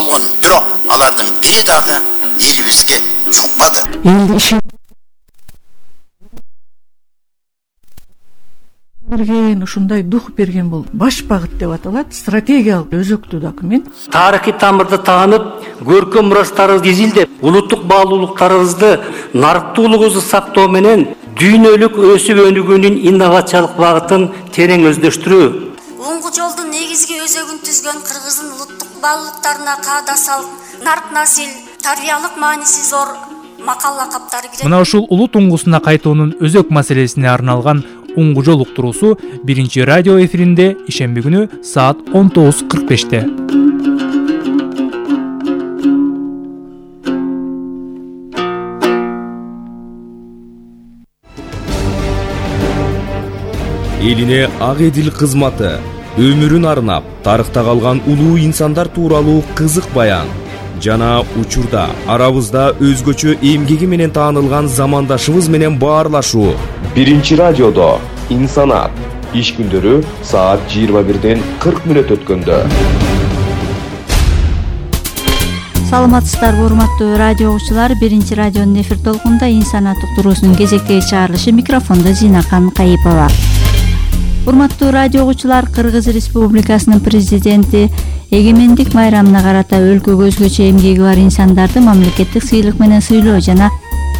болгон. Бирок алардын бири дагы элибизге жукпады. Ушундай дух берген бул баш багыт деп аталат, стратегиялык өзөктүү документ. Тарыхый тамырды таанып, көркөм мурастарыбызды изилдеп, улуттук баалуулуктарыбызды, нарыктуулугубузду сактоо менен дүйнөлүк өсүп өнүгүүнүн инновациялык багытын терең өздөштүрүү. Оңгу жолдун негизги өзөгүн түзгөн Кыргыздын улуттук баалуулуктарына каада салып, нарк насил, тарбиялык мааниси зор макал лакаптары кирет. Мына ушул улут уңгусуна кайтуунун өзөк маселесине арналган Уңгу жол уктуруусу 1 радио эфиринде ишемби күнү саат 19:45-те. Элине ак эдил кызматы, өмүрүн арнап, тарыхта калган улуу инсандар тууралуу кызык баян жана учурда арабызда өзгөчө эмгеги менен таанылган замандашыбыз менен баарлашуу. 1 радиодо инсанат иш күндөрү саат 21:40 өткөндө. Саламатсыздарбы урматтуу радио угуучулар, 1 радионун эфир толкунунда инсанат уктуруусунун кезектеги чыгарылышы, микрофондо Зинакан Кайыпова. Урматтуу радио угуучулар, Кыргыз Республикасынын президенти эгемендик майрамына карата өлкөгө өзгөчө эмгеги бар инсандарды мамлекеттик сыйлык менен сыйлоо жана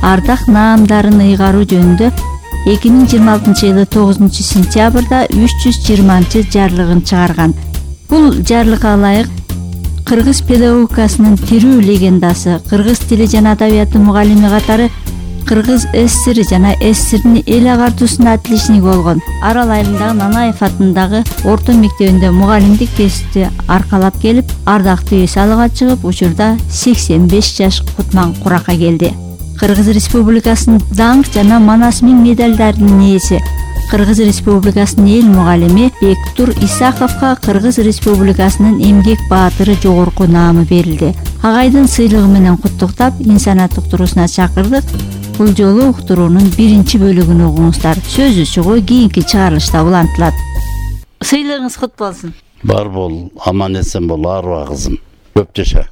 ардак наамдарын ыйгаруу жөнүндө 2026-жылы 9-сентябрда 320 жарлыгын чыгарган. Бул жарлыкка ылайык кыргыз педагогикасынын тирүү легендасы, кыргыз тили жана адабияты мугалими катары Кыргыз ССР жана ССРдин эл агартуусуна тилишник болгон. Арал айылындагы Нанаев атындагы орто мектебинде мугалимдик кесипти аркалап келип, ардактуу эс алууга чыгып, учурда 85 жаш кутман куракка келди. Кыргыз Республикасынын даңк жана Манас миң медалдарынын ээси, Кыргыз Республикасынын эл мугалими Бектур Исаховго Кыргыз Республикасынын эмгек баатыры жогорку наамы берилди. Агайдын сыйлыгы менен куттуктап, инсанат уктуруусуна чакырдык. Бул жолу уктуруунун 1-бөлүгүн угуңуздар. Сөзү чыгуу кийинки чыгарылышта улантылат. Сыйлыгыңыз кут болсун. Бар бол, аман эсен бол, арба кызым. Көп жаша.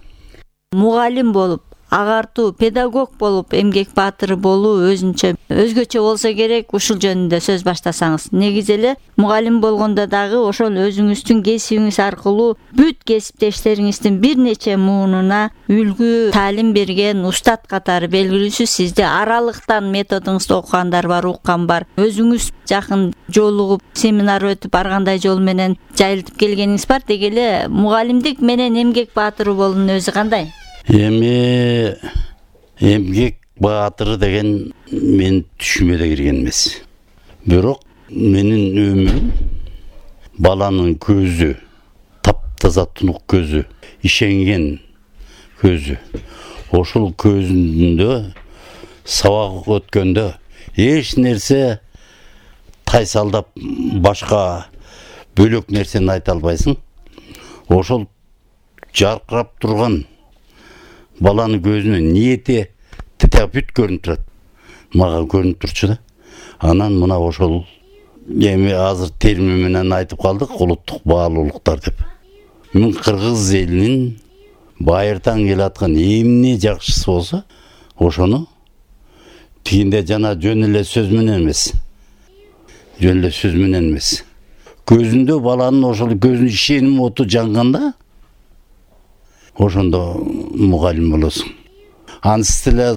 Мугалим болуп, агартуу, педагог болуп, эмгек баатыры болуу өзгөчө болсо керек. Ушул жөнүндө сөз баштасаңыз. Негизи эле мугалим болгондо дагы ошол өзүңүздүн кесибиңиз аркылуу бүт кесиптештериңиздин бир нече муунуна үлгү таалим берген устат катары белгилүүсүз. Сизде аралыктан методуңузду окугандар бар, уккан бар. Өзүңүз жакын жолугуп, семинар өтүп, ар кандай жол менен жайылтып келгениңиз бар. Деги эле мугалимдик менен эмгек баатыры болуунун өзү кандай? Эми эмгек баатыры деген мен түшүмө да кирген эмес. Бирок менин өмүрүм баланын көзү, таптаза тунук көзү, ишенген көзү. Ошол көзүндө сабак өткөндө эч нерсе тайсалдап башка бөлөк нерсени айта албайсың. Ошол жаркырап турган баланын көзүнөн ниети бүт көрүнүп турат. Мага көрүнүп турчу да. Анан мына ошол эми азыр терми менен айтып калдык, улуттук баалуулуктар деп. Мен кыргыз элинин байыртан келаткан эмне жакшысы болсо, ошону тигинде жана жөн эле сөз менен эмес. Көзүндө баланын ошол көзүнүн ишеним оту жанганда, ошондо мугалим болосуң. Ансы эле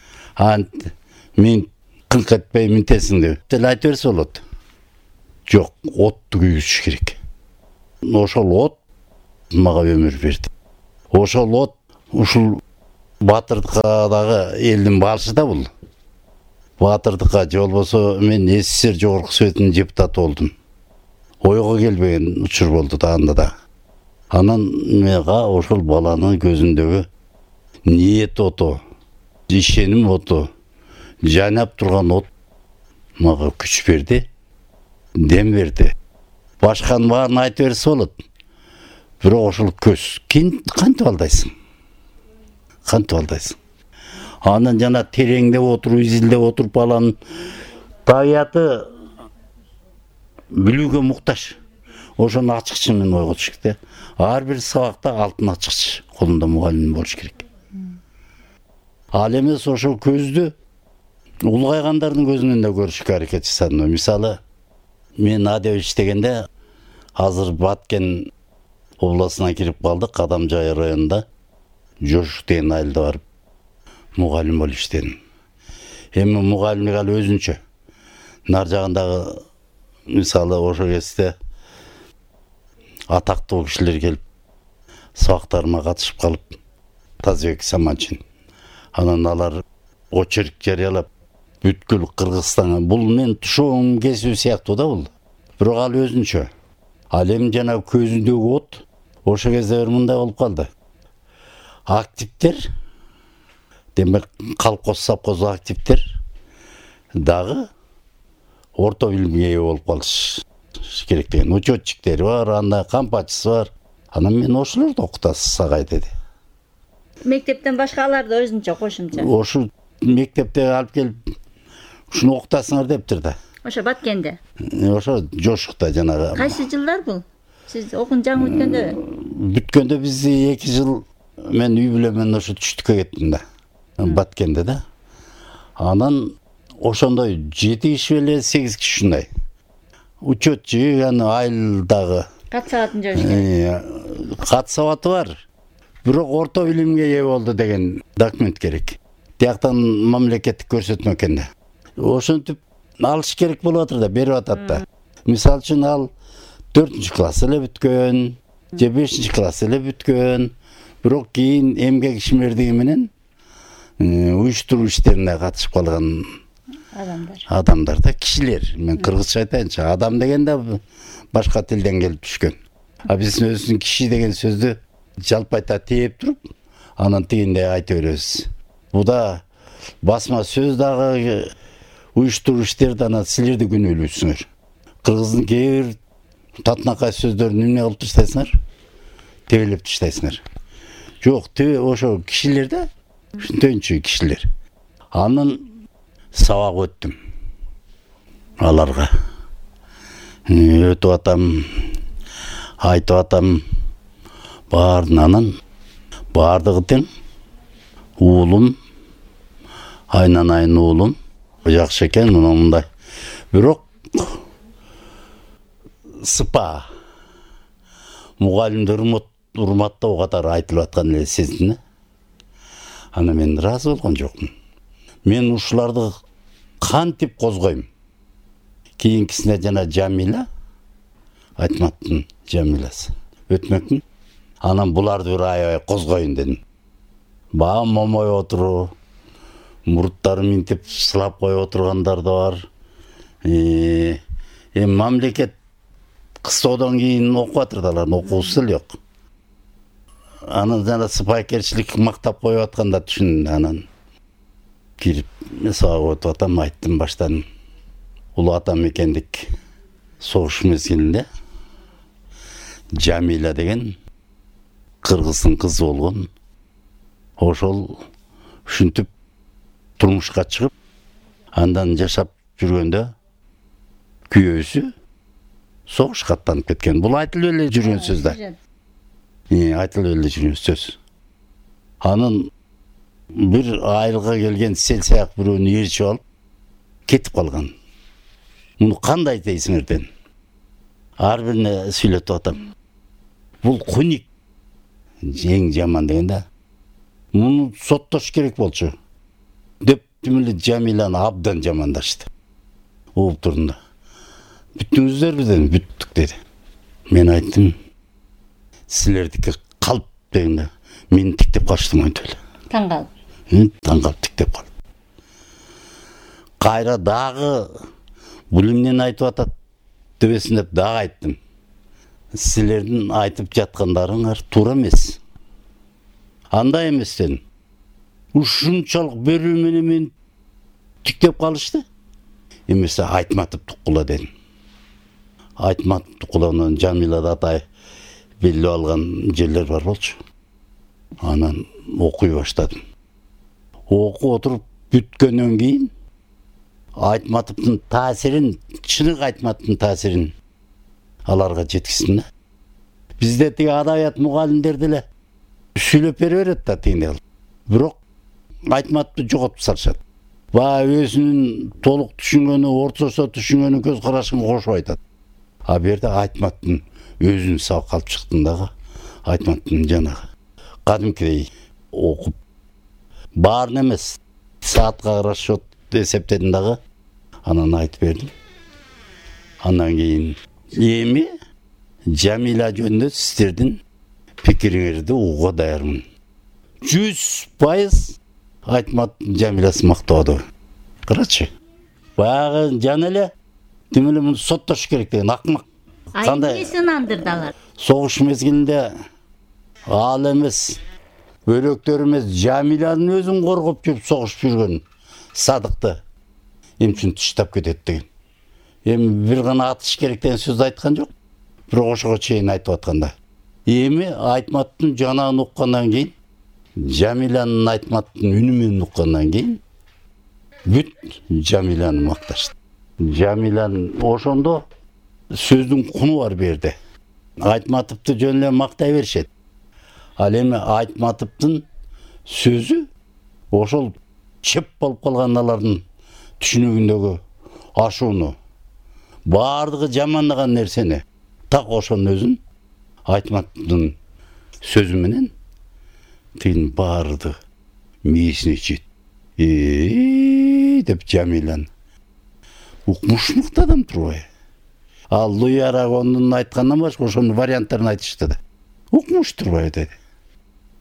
мен кыңк этпей минтесиң деп деле айта берсе болот. Жок, отту күйгүзүш керек. Ошол от мага өмүр берди. Ошол от ушул баатырдыкка дагы элдин баалышы да бул. Баатырдыкка же болбосо мен СССР жогорку советинин депутаты болдум. Ойго келбеген учур болду да анда да. Анан мага ошол баланын көзүндөгү ниет оту, ишеним оту, жайнап турган от мага күч берди, дем берди. Башканын баарын айта берсе болот. Бирок ошол көз кантип алдайсың? Анан жана тереңдеп отуруп, изилдеп отуруп баланын табияты билүүгө муктаж. Ошону ачыкчы мен ойго түшүктү. Ар бир сабакта алтын ачыкчы колунда мугалим болуш керек. Ал эмес ошол көздү улгайгандардын көзүнөн да көрүшкө аракет жасадым. Мисалы, мен адеп иштегенде азыр Баткен областына кирип калдык, Адамжай районунда Жошук деген айылда барып мугалим болуп иштедим. Эми мугалимдик ал өзүнчө. Нар жагындагы мисалы ошол кезде атактуу кишилер келип сабактарыма катышып калып, Тазбек Саманчин. Анан алар очерк жарыялап бүткүл Кыргызстанга, бул мен тушоом кесүү сыяктуу да бул. Бирок ал өзүнчө. Ал эми жана көзүндөгү от ошол кезде мындай болуп калды. Активдер, демек колхоз совхоз активдер дагы орто билимге ээ болуп калыш керек деген. Учетчиктери бар, анда кампачысы бар. Анан мен ошолорду окутасыз сагай деди. Мектептен башка аларды өзүнчө кошумча. Ошо мектепте алып келип ушуну окутасыңар дептир да. Ошо Баткенде. Ошо Жошукта жанагы. Кайсы жылдар бул? Сиз окуун жаңы бүткөндө? Бүткөндө биз 2 жыл мен үй бүлө менен ошо түштүккө кеттим да. Баткенде да. Анан ошондой 7 киши беле 8 киши ушундай. Учетчу аны айылдагы Кат сабатын жөөш керек. Кат сабаты бар. Бирок орто билимге ээ болду деген документ керек. Тияктан мамлекеттик көрсөтмө экен да. Ошентип алыш керек болуп атыр да, берип атат да. Мисалы үчүн ал 4-класс эле бүткөн, же 5-класс эле бүткөн. Бирок кийин эмгек ишмердиги менен уюштуруу иштерине катышып калган адамдар да, кишилер. Мен кыргызча айтайынчы, адам деген да башка тилден келип түшкөн. А биз өзүбүздүн киши деген сөздү жалпайта тээп туруп, анан тигиндей айта беребиз. Бу да басма сөз дагы уюштуруу иштер анан силер да күнөөлүүсүңөр. Кыргыздын кээ бир татынакай сөздөрүн эмне кылып таштайсыңар? Тебелеп таштайсыңар. Жок, ошо кишилер да, ушунтойчу кишилер. Анын сабак өттүм. Аларга өтүп атам, айтып атам, баарынан баардыгы тең. Уулум, айнанайын уулум, жакшы экен, мындай. Бирок сыпа мугалимдер урматтоо катары айтылып аткан эле сездим. Ана мен ыраазы болгон жокмун. Мен ушуларды кантип козгойм? Кийинкисине жана Жамила, Айтматтын Жамиласы өтмөкмүн. Анан буларды бир аябай козгоюн дедим. Баа момой отуруу, мурттары минтип сылап коюп отургандар да бар. Мамлекет кыстоодон кийин окуп атыр да, алардын окуусу эле жок. Анан жана сыпайкерчилик мактап коюп атканда түшүндүм. Анан кирип сабак өтүп атам, айттым баштан. Улуу атам экендик согуш мезгилинде Жамила деген кыргыздын кызы болгон. Ошол ушинтип турмушка чыгып, андан жашап жүргөндө күйөөсү согушка аттанып кеткен. Бул айтылып эле жүргөн сөз да. Айтылып эле жүргөн сөз. Анын бир айылга келген сел саяк бирөөнү ээрчип алып кетип калган. Муну кандай дейсиңер дедим. Ар бирине сүйлөтүп атам. Бул куник эң жаман деген да. Муну соттош керек болчу деп эле Жамиланы абдан жамандашты. Угуп турдум да. Бүттүңүздөрбү дедим. Бүттүк деди. Мен айттым, силердики калп дегенде мени тиктеп калыштым антип эле. Таң калып. Таң калып тиктеп калды. Кайра дагы бул эмнени айтып атат дебесин деп дагы айттым. Силердин айтып жаткандарыңар туура эмес. Андай эмес дедим. Ушунчалык берүү менен мени тиктеп калышты. Эмесе Айтматов Тукула дедим. Айтматов Тукуланын Жамилада атай билип алган жерлер бар болчу. Анан окуй баштадым. Окуп отуруп бүткөндөн кийин Айтматовдун таасирин, чыныгы Айтматовдун таасирин аларга жеткиздим да. Бизде тиги адабият мугалимдер деле сүйлөп бере берет да тигине кылып. Бирок Айтматовду жоготуп салышат. Баягы өзүнүн толук түшүнгөнү, ортосо түшүнгөнү көз карашын кошуп айтат. А бу жерде Айтматовдун өзүн сабак алып чыктым дагы. Айтматовдун жанагы кадимкидей окуп баарын эмес, саатка расчет эсептедим дагы. Анан айтып бердим. Андан кийин эми Жамиля жөнүндө сиздердин пикириңерди угууга даярмын. 100% Айтматовдун Жамилясын мактоодо. Карачы. Баягы жана эле тим эле муну соттош керек деген акмак. Кандай эмнеси ынандырдалар? Согуш мезгилинде ал эмес, өрөктөр эмес, Жамилянын өзүн коргоп жүрүп согушуп жүргөн Садыкты эмчүн таштап кетет деген. Эми бир гана атыш керек деген сөз айткан жок. Бирок ошого чейин айтып атканда. Эми Айтматовдун жанагын уккандан кийин, Жамилянын Айтматовдун үнү менен уккандан кийин бүт Жамиляны макташты. Жамилян ошондо сөздүн куну бар берди. Айтматовду жөн эле мактай беришет. Ал эми Айтматовдун сөзү ошол чеп болуп калгандардын түшүнүгүндөгү ашууну, баардыгы жамандаган нерсени так ошонун өзүн Айтматовдун сөзү менен тигин баарды мээсине жет. Деп Жамилян укмуш адам турбай. Ал Луи Арагондун айткандан башка ошонун варианттарын айтышты да. Укмуш турбай деди.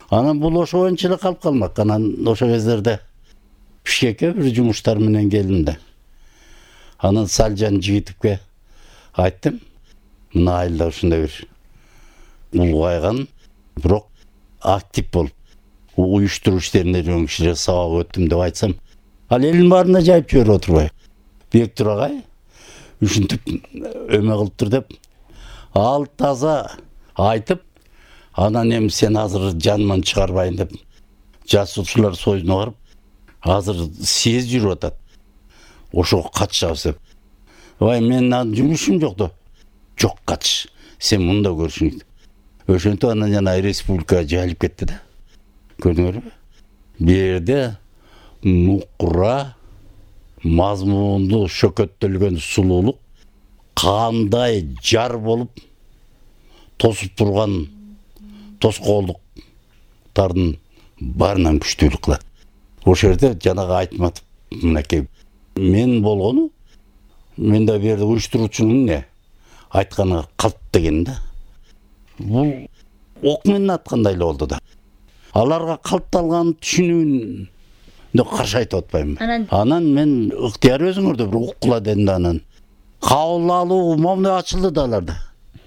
Анан бул ошо боюнча эле калып калмак. Анан ошо кездерде Бишкекке бир жумуштар менен келдим да. Анан Салжан Жигитовке айттым. Мына айылда ушундай бир улгайган, бирок актив болуп уюштуруу иштерине жүргөн кишилер сабак өттүм деп айтсам, ал элдин баарына жайып жиберип отурбай. Бектур агай ушинтип өмө кылыптыр деп ал таза айтып, анан эми сен азыр жаныман чыгарбайын деп жасуучулар союзуна барып, азыр съезд жүрүп атат. Ошого катышабыз деп. Ой, менин жумушум жок да. Жок, катыш. Сен мында көрүшүң. Ошентип анан жана республикага жайылып кетти да. Көрдүңөрбү? Бу жерде нукура мазмунду шөкөттөлгөн сулуулук кандай жар болуп тосуп турган тоскоолдуктардын баарынан күчтүүлүк кылат. Ошол жерде жанагы Айтматов мынакей мен болгону, мен да бу жерде уюштуруучунун эмне айтканы калп деген да. Бул ок менен аткандай эле болду да. Аларга калыпталган түшүнүүнү каршы айтып атпаймынбы. Анан мен ыктыяр өзүңөрдө бир уккула дедим да, анан кабыл алуу момундай ачылды да аларда.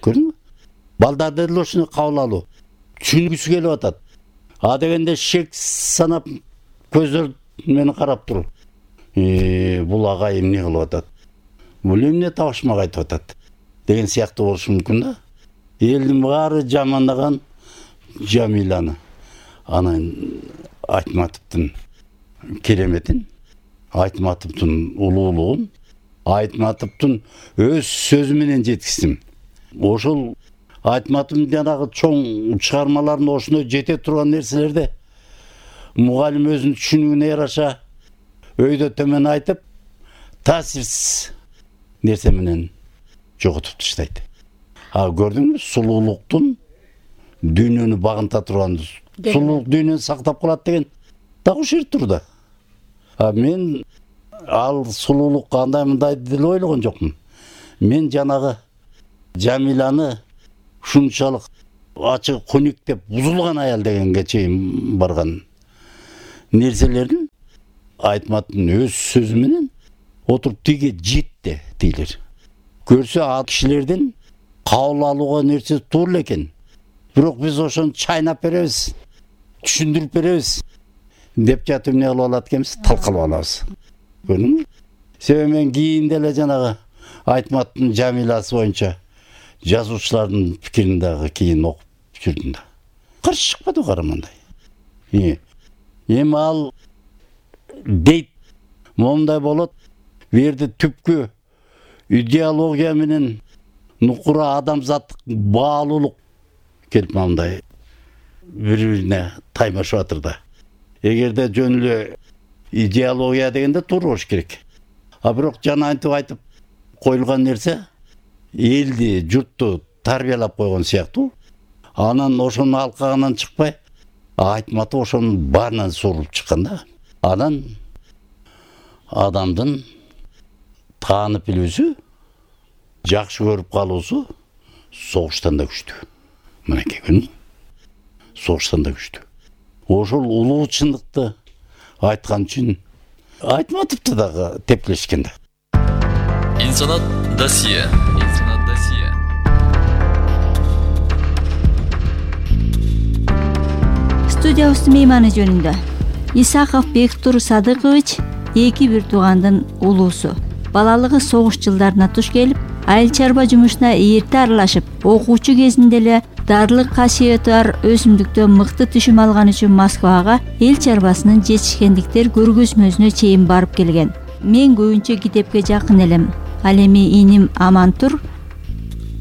Көрдүңбү? Балдарда деле ушуну кабыл алуу түшүнгүсү келип атат. А дегенде шек санап көздөр мени карап туруп, бул агай эмне кылып атат? Бул эмне табышмак айтып атат? Деген сыяктуу болушу мүмкүн да. Элдин баары жамандаган Жамиляны. Анан Айтматовдун кереметин, Айтматовдун улуулугун, Айтматовдун өз сөзү менен жеткиздим. Ошол Айтматовдун жанагы чоң чыгармаларында ошондой жете турган нерселерде мугалим өзүнүн түшүнүгүнө яраша өйдө төмөн айтып, таасирсиз нерсе менен жоготуп таштайт. А көрдүңбү, сулуулуктун дүйнөнү багынта турган, сулуулук дүйнөнү сактап калат деген дагы ушул жерде турда. А мен ал сулуулук кандай мындай деле ойлогон жокмун. Мен жанагы Жамиляны ушунчалык ачык көнүк деп бузулган аял дегенге чейин барган нерселердин Айтматовдун өз сөзү менен отуруп тиге жетти дейлер. Көрсө ал кишилердин кабыл алууга нерсе туура экен. Бирок биз ошону чайнап беребиз, түшүндүрүп беребиз деп жатып эмне кылып алат экенбиз, талкалап алабыз. Көрдүңбү? Себеби мен кийин деле жанагы Айтматовдун Жамилясы боюнча жазуучулардын пикирин дагы кийин окуп жүрдүм да. Каршы чыкпады карамандай. Эми ал дейт, момундай болот. Бу жерде түпкү идеология менен нукура адамзаттык баалуулук келип момундай бири бирине таймашып атыр да. Эгерде жөн эле идеология дегенде туура болуш керек. А бирок жана айтып коюлган нерсе элди, журтту тарбиялап койгон сыяктуу. Анан ошонун алкагынан чыкпай, айтматы ошонун баарынан сурулуп чыккан да. Анан адамдын таанып билүүсү, жакшы көрүп калуусу согуштан да күчтүү. Мынакей күн согуштан да күчтүү. Ошол улуу чындыкты айткан үчүн айтматыпты дагы тепкилешкен да. Инсанат досье. Студиябыздын мейманы жөнүндө Исаков Бектур Садыкович эки бир туугандын улуусу. Балалыгы согуш жылдарына туш келип, айыл чарба жумушуна эрте аралашып, окуучу кезинде эле дарылык касиети бар өсүмдүктөн мыкты түшүм алган үчүн Москвага эл чарбасынын жетишкендиктер көргөзмөсүнө чейин барып келген. Мен көбүнчө китепке жакын элем. Ал эми иним Амантур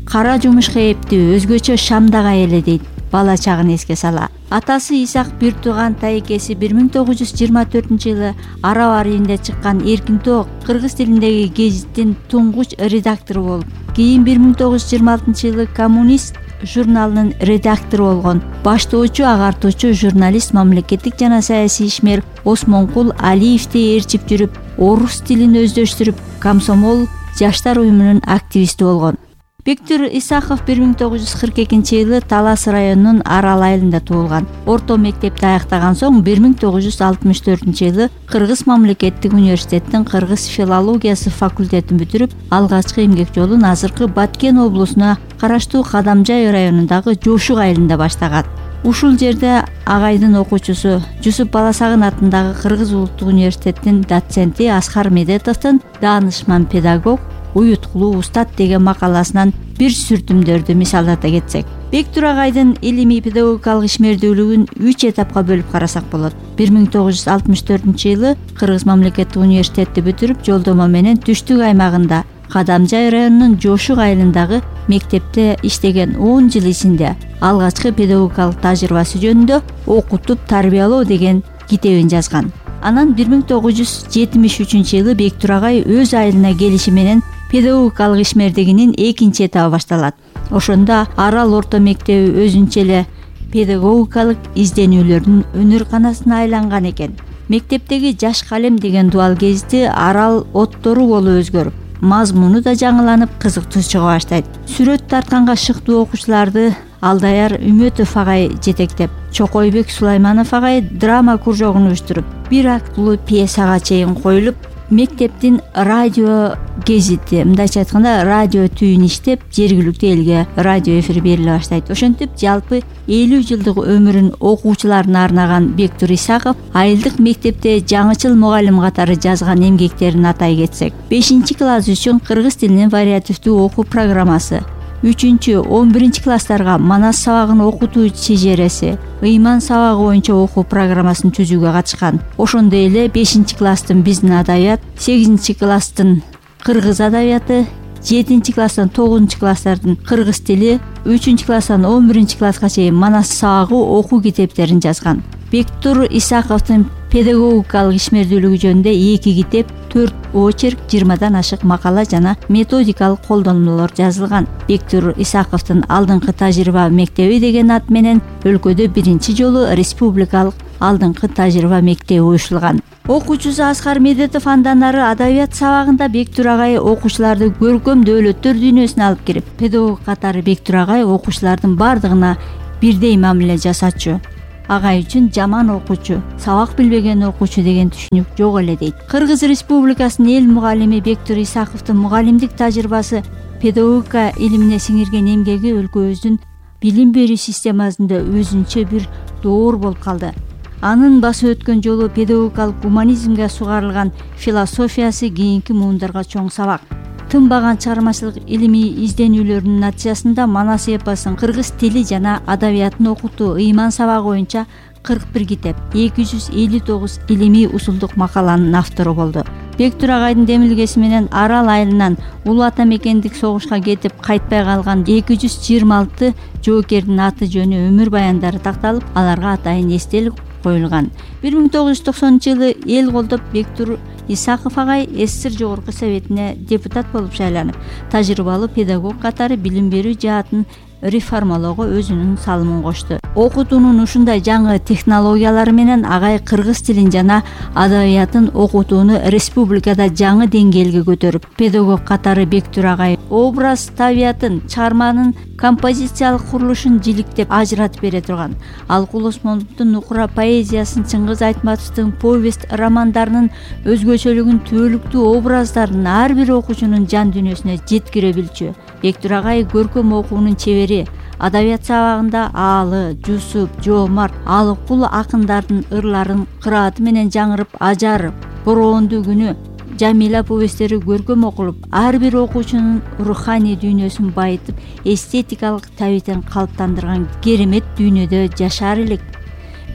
кара жумушка эптүү, өзгөчө шамдага эле дейт бала чагын эске сала. Атасы Исак бир тууган тайкеси 1924-жылы Араб арийинде чыккан Эркин Тоо кыргыз тилиндеги гезиттин туңгуч редактору болуп, кийин 1926-жылы Коммунист журналынын редактору болгон. Баштоочу, агартуучу журналист, мамлекеттик жана саясий ишмер Осмонкул Алиевди ээрчип жүрүп, орус тилин өздөштүрүп, Комсомол жаштар уюмунун активисти болгон. Бектур Исаков 1942-жылы Талас районунун Арал айылында туулган. Орто мектепти аяктаган соң 1964-жылы Кыргыз мамлекеттик университеттин кыргыз филологиясы факультетин бүтүрүп, алгачкы эмгек жолун азыркы Баткен облусуна караштуу Кадамжай районундагы Жошук айылында баштаган. Ушул жерде агайдын окуучусу Жусуп Баласагын атындагы Кыргыз улуттук университеттин доценти Аскар Медетовдун даанышман педагог, уюткулуу устат деген макаласынан бир сүртүмдөрдү мисалдата кетсек, Бектур агайдын илимий педагогикалык ишмердүүлүгүн 3 этапка бөлүп карасак болот. 1964-жылы Кыргыз мамлекеттик университетти бүтүрүп, жолдомо менен түштүк аймагында Кадамжай районунун Жошук айылындагы мектепте иштеген 10 жыл ичинде алгачкы педагогикалык тажрыйбасы жөнүндө окутуп тарбиялоо деген китебин жазган. Анан 1973-жылы Бектур агай өз айылына келиши менен педагогикалык ишмердигинин экинчи этабы башталат. Ошондо Арал орто мектеби өзүнчө эле педагогикалык изденүүлөрдүн өнөр-канасына айланган экен. Мектептеги Жаш калем деген дуал гезити Арал оттору болуп өзгөрүп, мазмуну да жаңыланып, кызыктуу чыга баштайт. Сүрөт тартканга шыктуу окуучуларды Алдаяр Үмөтов агай жетектеп, Чокойбек Сулайманов агай драма кружогун уюштуруп, бир актылуу пьесага чейин коюлуп, мектептин радио гезити, мындайча айтканда радио түйүн иштеп, жергиликтүү элге радио эфир бериле баштайт. Ошентип, жалпы 50 жылдык өмүрүн окуучуларына арнаган Бектур Исаков айылдык мектепте жаңычыл мугалим катары жазган эмгектерин атай кетсек, 5-класс үчүн кыргыз тилинин вариативдүү окуу программасы, 3-11 класстарга Манас сабагын окутуу чежереси, ыйман сабагы боюнча окуу программасын түзүүгө катышкан. Ошондой эле 5-класстын биздин адабият, 8-класстын кыргыз адабияты, 7-класстан 9-класстардын кыргыз тили, 3-класстан 11-класска чейин Манас сабагы окуу китептерин жазган. Бектур Исаковдун педагогикалык ишмердүүлүгү жөнүндө 2 китеп, 4 очерк, 20дан ашык макала жана методикалык колдонмолор жазылган. Бектур Исаковдун алдыңкы тажрыйба мектеби деген ат менен өлкөдө биринчи жолу республикалык алдыңкы тажрыйба мектеби уюштурулган. Окуучусу Аскар Медетов андан ары адабият сабагында Бектур агай окуучуларды көркөм дөөлөттөр дүйнөсүнө алып кирип, педагог катары Бектур агай окуучулардын бардыгына бирдей мамиле жасачу. Агай үчүн жаман окуучу, сабак билбеген окуучу деген түшүнүк жок эле дейт. Кыргыз Республикасынын эл мугалими Бектур Исаковдун мугалимдик тажрыйбасы, педагогика илимине сиңирген эмгеги өлкөбүздүн билим берүү системасында өзүнчө бир доор болуп калды. Анын басып өткөн жолу педагогикалык гуманизмге сугарылган философиясы кийинки муундарга чоң сабак. Тынбаган чыгармачылык илимий изденүүлөрүнүн натыйжасында Манас эпосун, кыргыз тили жана адабиятын окутуу, ыйман сабагы боюнча 41 китеп, 259 илимий усулдук макаланын автору болду. Бектур агайдын демилгеси менен Арал айылынан улуу ата мекендик согушка кетип кайтпай калган 226 жоокердин аты жөнү өмүр баяндары такталып, аларга атайын эстелик коюлган. 1990-жылы эл колдоп Бектур Исаков агай СССР жогорку советине депутат болуп шайланып, тажрыйбалуу педагог катары билим берүү жаатын реформалоого өзүнүн салымын кошту. Окутуунун ушундай жаңы технологиялары менен агай кыргыз тилин жана адабиятын окутууну республикада жаңы деңгээлге көтөрүп, педагог катары Бектур агай образ табиятын, чыгарманын композициялык курулушун жиликтеп ажыратып бере турган. Алкул Осмоновдун Нукура поэзиясын, Чыңгыз Айтматовдун повесть романдарынын өзгөчөлүгүн, түбөлүктүү образдарын ар бир окуучунун жан дүйнөсүнө жеткире билчү. Бектур агай көркөм окуунун чебери, адабият сабагында Аалы, Жусуп, Жоомарт, Алыкул акындардын ырларын кырааты менен жаңырып, ажарып, Бороондуу күнү, Жамила повесттери көркөм окулуп, ар бир окуучунун руханий дүйнөсүн байытып, эстетикалык табитин калыптандырган керемет дүйнөдө жашар элек.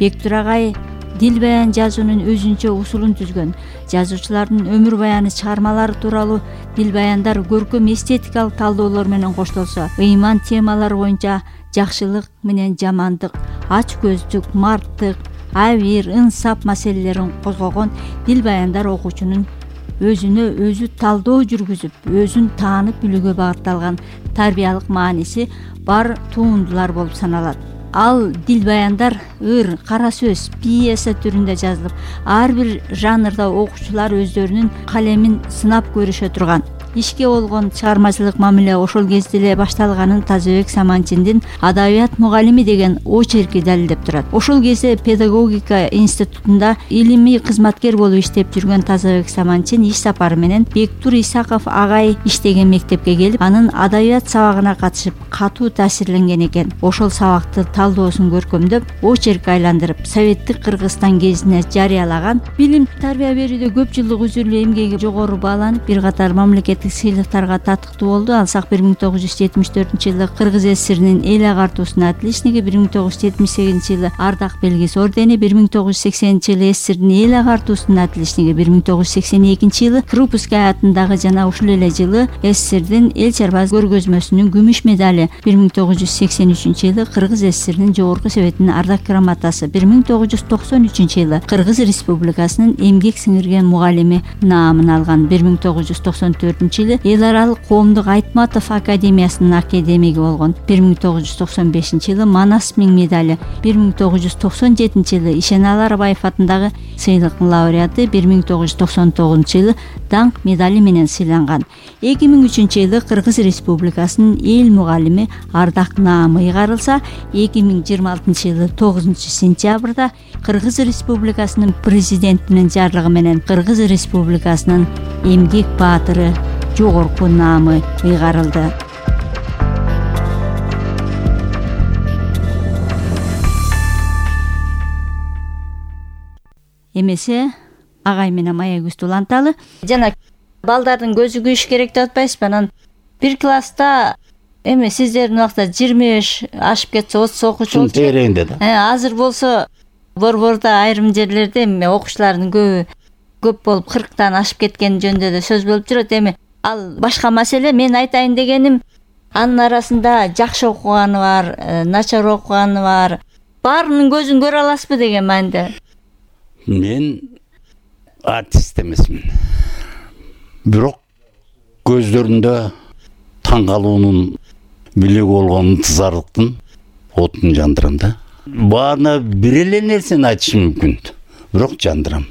Бектур агай дил баян жазуунун өзүнчө усулун түзгөн. Жазуучулардын өмүр баяны чыгармалары тууралуу дил баяндар көркөм эстетикалык талдоолор менен коштолсо, ыйман темалары боюнча жакшылык менен жамандык, ач көздүк, марттык, абийир, инсап маселелерин козгогон дил баяндар окуучунун өзүнө өзү талдоо жүргүзүп, өзүн таанып билүүгө багытталган тарбиялык мааниси бар туундулар болуп саналат. Ал дил баяндар ыр, кара сөз, пьеса түрүндө жазылып, ар бир жанрда окуучулар өздөрүнүн калемин сынап көрүшө турган. Ишке болгон чыгармачылык мамиле ошол кезде эле башталганын Тазабек Саманчиндин Адабият мугалими деген очерки далилдеп турат. Ошол кезде педагогика институтунда илимий кызматкер болуп иштеп жүргөн Тазабек Саманчин иш сапары менен Бектур Исаков агай иштеген мектепке келип, анын адабият сабагына катышып, катуу таасирленген экен. Ошол сабакты талдоосун көркөмдөп, очерк айландырып, Советтик Кыргызстан гезитине жарыялаган. Билим тарбия берүүдө көп жылдык үзүрлүү эмгеги жогору бааланып, бир катар мамлекеттик сыйлыктарга татыктуу болду. Алсак 1974-жылы Кыргыз ССРинин эл агартуусунун отличниги, 1978-жылы Ардак белгиси ордени, 1980-жылы ССРдин эл агартуусунун отличниги, 1982-жылы Крупская атындагы жана ушул эле жылы ССРдин эл чарбаз көргөзмөсүнүн күмүш медали, 1983-жылы Кыргыз ССРинин жогорку советинин ардак грамотасы, 1993-жылы Кыргыз Республикасынын эмгек сиңирген мугалими наамын алган, 1994-жылы эл аралык коомдук Айтматов академиясынын академиги болгон, 1995-жылы Манас миң медали, 1997-жылы Ишеналы Арбаев атындагы сыйлыктын лауреаты, 1999-жылы Даңк медали менен сыйланган. 2003-жылы Кыргыз Республикасынын эл мугалими ардак наамы ыйгарылса, 2026-жылы 9-сентябрда Кыргыз Республикасынын президентинин жарлыгы менен Кыргыз Республикасынын эмгек баатыры жогорку наамы ыйгарылды. Эмесе агай менен Маягөз Туланталы жана балдардын көзү күйүш керек деп атпайсызбы? Анан бир класста эми сиздердин убакта 25 ашып кетсе 30 окуучу болчу. Тереңде да. Азыр болсо борбордо айрым жерлерде эми окуучулардын көп болуп 40-тан ашып кеткен жөнүндө да сөз болуп жүрөт. Эми ал башка маселе. Мен айтайын дегеним, анын арасында жакшы окуганы бар, начар окуганы бар. Баарынын көзүн көрө аласызбы деген маанидө. Мен артист эмесмин. Бирок көздөрүндө таң калуунун билеги болгон ынтызарлыктын отун жандырам да. Баарына бир эле нерсени айтышым мүмкүн, бирок жандырам.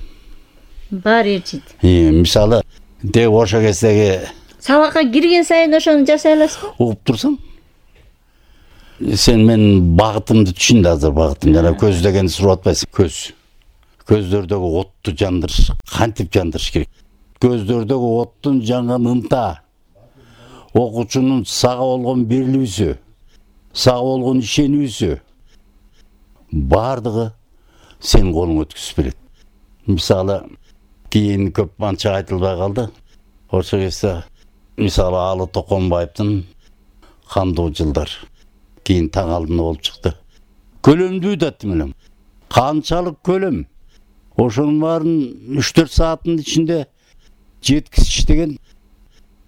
Баары ээрчийт. Мисалы, де ошо кездеги сабакка кирген сайын ошону жасай аласызбы? Угуп турсаң, сен менин багытымды түшүндү азыр. Багытым жана көз дегенди сурап атпайсың. Көздөрдөгү отту жандырыш, кантип жандырыш керек? Көздөрдөгү оттун жанган ынта, окуучунун сага болгон берилүүсү, сага болгон ишенүүсү, баардыгы сен колуңа өткүзүп берет. Мисалы, кийин көп анча айтылбай калды. Ошо кезде мисалы Алы Токонбаевдин Кандуу жылдар кийин таң алдында болуп чыкты. Көлөмдүү да тимелем. Канчалык көлөм. Ошонун баарын 3-4 сааттын ичинде жеткизиш деген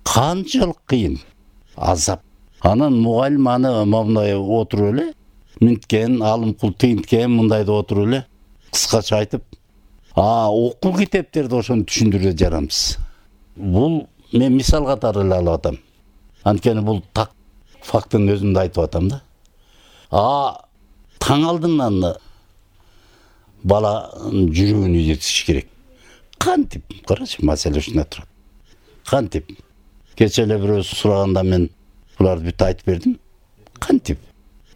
канчалык кыйын, азап. Анан мугалим аны мындай отуруп эле, мынткен, алымкул тыйынткен мындайда отуруп эле кыскача айтып, окуу китептерди ошону түшүндүрүп жарамсыз. Бул мен мисал катары эле алып атам. Анткени бул так фактын өзүндө айтып атам да. Таң алдынан бала жүрөгүн үйрөтүш керек. Кантип? Карачы, маселе ушунда турат. Кантип? Кече эле бирөө сураганда мен буларды бүт айтып бердим. Кантип?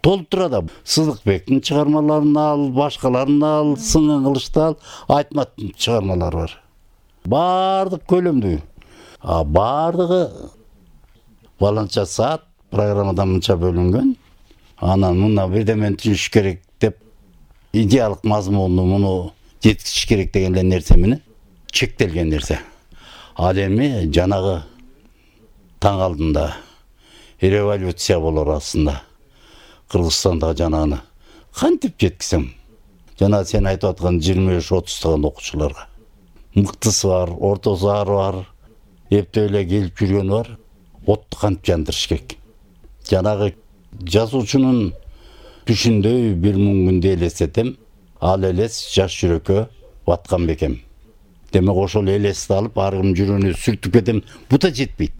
Толтура да Сыздыкбектин чыгармаларын ал, башкаларын ал, Сыңган Кылычты ал, Айтматтын чыгармалары бар. Бардык көлөмдүү. Бардыгы баланча саат программадан мынча бөлүнгөн. Анан мына бирдемени түшүш керек деп идеалык мазмуну муну жеткизиш керек деген нерсе менен чектелген нерсе. Ал эми жанагы таң алдында революция болор астында. Кыргызстандагы жанагыны кантип жеткизем? Жана сен айтып аткан 25-30 окуучуларга. Мыктысы бар, ортосу ары бар, эптеп эле келип жүргөнү бар. Отту кантип жандырыш керек? Жанагы жазуучунун түшүндөй бир мүнгүндү элестетем. Ал элес жаш жүрөккө баткан бекем. Демек ошол элести алып ар ким жүрөгүнө сүртүп кетем. Бу да жетпейт.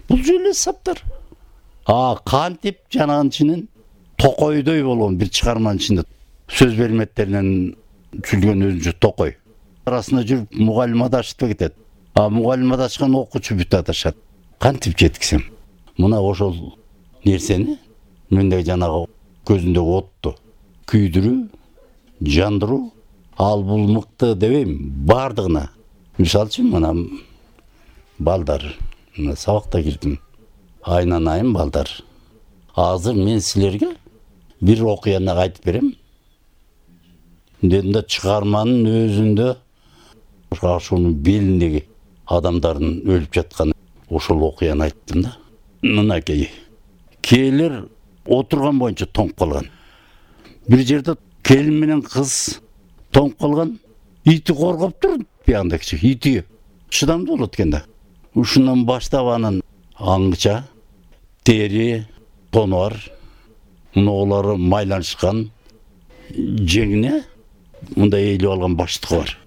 Бул эле саптар. Кантип жанагынын ичинен токойдой болгон бир чыгарманын ичинде сөз берметтеринен түзүлгөн өзүнчө токой. Арасында жүрүп мугалим адашып кетет. Мугалим адашкан окуучу бүт адашат. Кантип жеткизем? Мына ошол нерсени мендеги жанагы көзүндөгү отту күйдүрүү, жандыруу, ал бул мыкты дебейм, бардыгына. Мисалы үчүн мына балдар, сабакта кирдим. Айнан айым балдар. Азыр мен силерге бир окуяны айтып берем. Дедим да чыгарманын өзүндө ошонун белиндеги адамдардын өлүп жаткан ошол окуяны айттым да. Мынакей. Келер отурган боюнча тоңуп калган. Бир жерде келин менен кыз тоңуп калган. Ити коргоп тур, биягында кичи ити. Чыдамдуу болот экен да. Ушундан баштап анын аңча, тери, тону бар. Мунулары майланышкан, жеңине мындай ээлип алган баштыгы бар.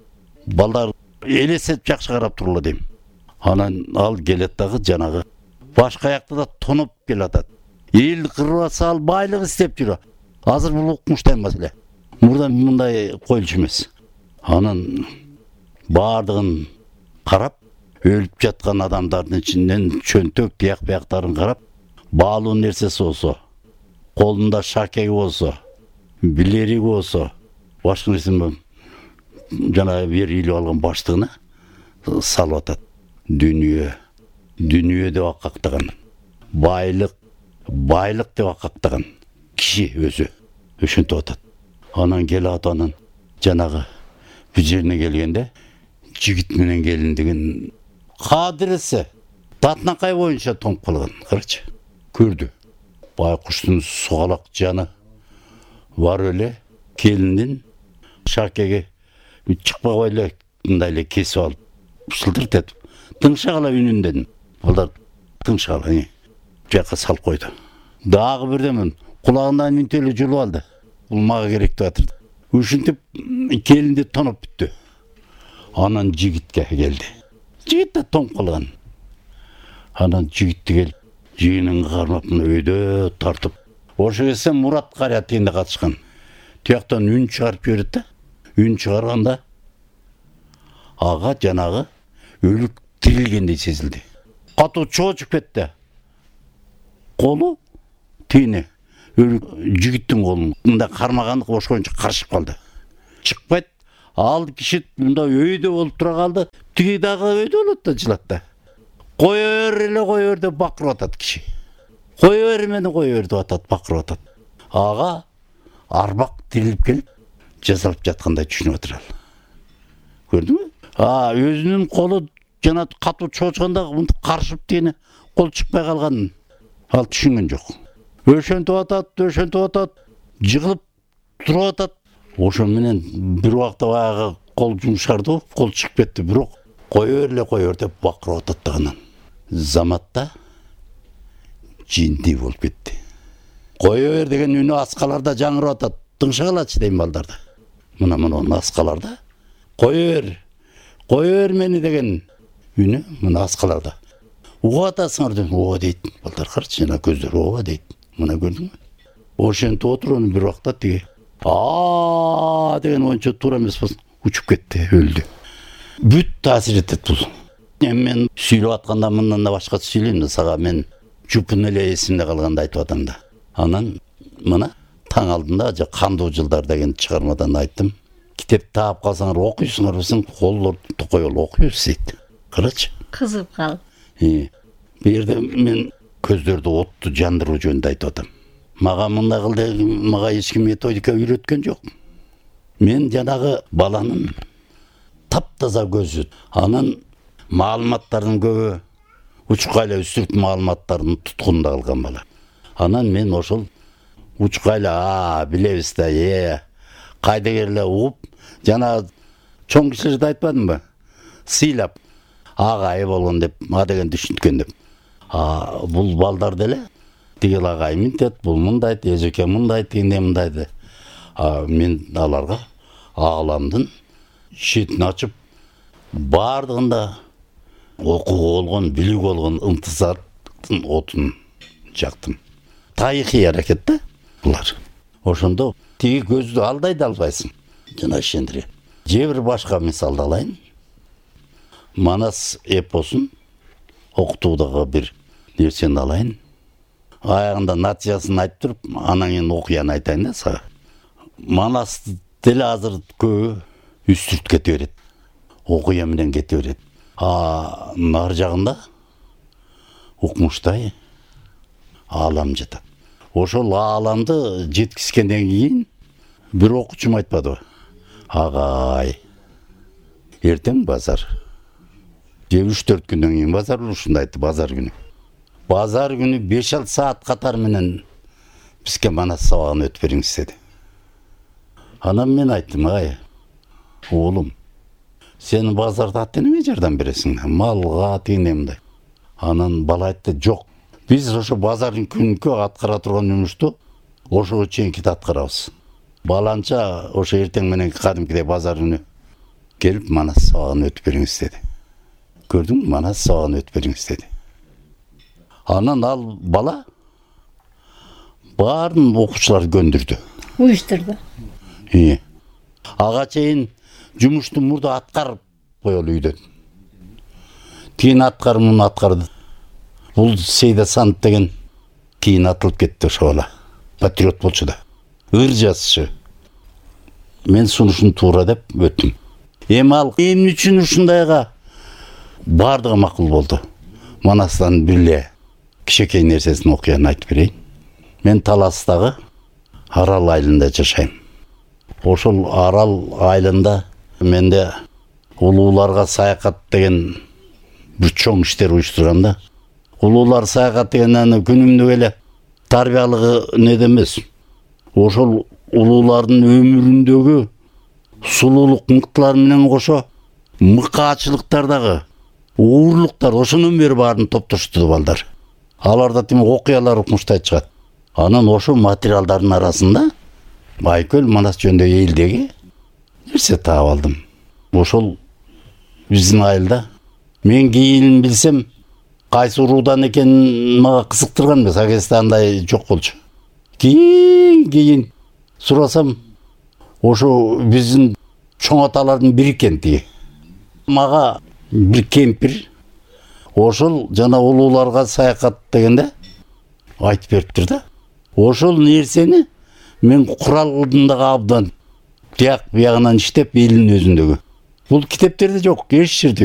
Балдар элестетип жакшы карап турула дейм. Анан ал келет дагы жанагы башка аякта да тонуп келатат. Эл кырып атса ал байлык издеп жүрөт. Азыр бул укмуштан маселе. Мурда мындай коюлуш эмес. Анан бардыгын карап, өлүп жаткан адамдардын ичинен чөнтөк тияк-бияктарын карап, баалуу нерсеси болсо, колунда шакеги болсо, билериги болсо, башка нерсе жана бир илип алган баштыгына салып атат. Дүнүйө деп акактаган, байлык деп акактаган киши өзү ошентип атат. Анан келип анан жанагы бир жерине келгенде жигит менен келиндигин кадырысы татынакай боюнча тоңуп калган. Карачы, көрдү. Байкуштун сугалак жаны бар эле келиндин шакеги чыкпай эле мындай эле кесип алып шылдырт этип тыңшагала үнүндөн. Балдар тыңшагала жакка салып койду. Дагы бирдемен кулагынан үнтө эле жулуп алды. Бул мага керек деп атырды. Ушинтип келинди тонуп бүттү. Анан жигитке келди. Жигит да тоңуп калган. Анан жигитти келип жыйынын кармап өйдө тартып. Ошо кезде Мурат Кария тегинде катышкан. Тияктан үн чыгарып жиберет да. Үн чыгарганда ага жанагы өлүк тирилгендей сезилди. Катуу чоочуп кетти. Колу тийини өлүк жигиттин колун мындай кармагандык ошкончо карышып калды. Чыкпайт. Ал киши мындай өйдө болуп тура калды. Тиги дагы өйдө болот да жылат да. Кое бер деп бакырып атат киши. Кое бер деп атат, бакырып атат. Ага арбак тирилип келип жасалып жаткандай түшүнүп атыр ал. Көрдүңбү? Өзүнүн колу жана катуу чоочканда мынтип карышып тиги кол чыкпай калганын ал түшүнгөн жок. Өшөнтүп атат, жыгылып туруп атат. Ошо менен бир убакта баягы кол жумшарды, кол чыгып кетти, бирок кое бер деп бакырып атат да анан заматта жиндей болуп кетти. Кое бер деген үнү аскаларда жаңырап атат. Тыңшагалачы дейм балдарда. Мына аскаларда кое бер мени деген үнү мына аскаларда. Угуп атасыңар деп, ооба дейт. Балдар карачы, жана көздөр ооба дейт. Мына көрдүңбү? Ошентип отуруп бир убакта тиги деген оюнчу туура эмес болсун, учуп кетти, өлдү. Бүт таасир этет бул. Мен сүйлөп атканда мындан да башка сүйлөйм да сага, мен жупун эле эсимде калганда айтып атам да. Анан мына таң алдында Кандуу жылдар деген чыгармадан айттым. Китеп таап калсаңар окуйсуңар десең, колдорду токой окуйбуз дейт. Карачы. Кызып калып. Бу жерде мен көздөрдү отту жандыруу жөнүндө айтып атам. Мага мындай кыл деп мага эч ким методика үйрөткөн жок. Мен жанагы баланын таптаза көзү, анан маалыматтардын көбү учкайла үстүрт маалыматтардын туткунунда калган бала. Анан мен ошол учкайла билебиз да, кайдыгерле угуп, жана чоң кишилерди айтпадымбы? Сыйлап агай болгон деп, деген түшүнткөн деп. Бул балдар деле тигил агай мынтет, бул мындайт, эжеке мындайт, тигиндей мындайды. Мен аларга ааламдын шетин ачып, бардыгында окууга болгон, билүүгө болгон ынтызардын отун жактым. Тарыхый аракет да булар. Ошондо тиги көздү алдай да албайсың. Жана ишендире. Же бир башка мисалды алайын. Манас эпосун окутуудагы бир нерсени алайын. Аягында натыйжасын айтып туруп, анан кийин окуяны айтайын да сага. Манас деле азыр көбү үстүрт кете берет. Окуя менен кете берет. Нар жагында укмуштай аалам жатат. Ошол ааламды жеткизгенден кийин бир окуучум айтпадыбы? Агай, эртең базар. 3-4 күндөн кийин базар, ушундай айтты, базар күнү. Базар күнү 5-6 саат катар менен бизге Манас сабагын өтүп бериңиз деди. Анан мен айттым, оолум, сен базарда ата-энеңе жардам бересиң, малга тигиндей мындай. Анан бала айтты, жок. Биз ошо базардын күнкү аткара турган жумушту ошого чейинки аткарабыз. Баланча ошо эртең менен кадимкидей базар күнү келип Манас сабагын өтүп бериңиз деди. Көрдүңбү, Манас сабагын өтүп бериңиз деди. Анан ал бала баарын окуучуларды көндүрдү. Уюштурду. Ага чейин жумушту мурда аткарып коелу үйдөн. Кийин муну аткарды. Бул Сейда Санд деген кийин атылып кетти ошо бала. Патриот болчу да. Ыр жазчы. Мен сунушун туура деп өттүм. Ал эмне үчүн ушундайга бардыгы макул болду. Манастан бирле кичекей нерсесин окуяны айтып берейин. Мен Таластагы Арал айылында жашайм. Ошол Арал айылында менде улууларга саякат деген бир чоң иштер уюштурганда, улуулар саякат дегенде күнүмдүк эле тарбиялыгы неде эмес. Ошол улуулардын өмүрүндөгү сулуулук мыктылар менен кошо мыкаачылыктардагы уурлуктар ошонун бери баарын топтоштурду балдар. Аларда тим окуялар укмуштай чыгат. Анан ошо материалдардын арасында Байкөл Манас жөнүндө элдеги нерсе таап алдым. Ошол биздин айылда мен кийин билсем кайсы уруудан экенин мага кызыктырган эмес, агесте андай жок болчу. Кийин сурасам ошо биздин чоң аталардын бири экен тиги. Мага бир кемпир ошол жана улууларга саякат дегенде айтып бериптир да. Ошол нерсени мен курал кылдым дагы абдан. Тияк биягынан иштеп элдин өзүндөгү. Бул китептерде жок, эч жерде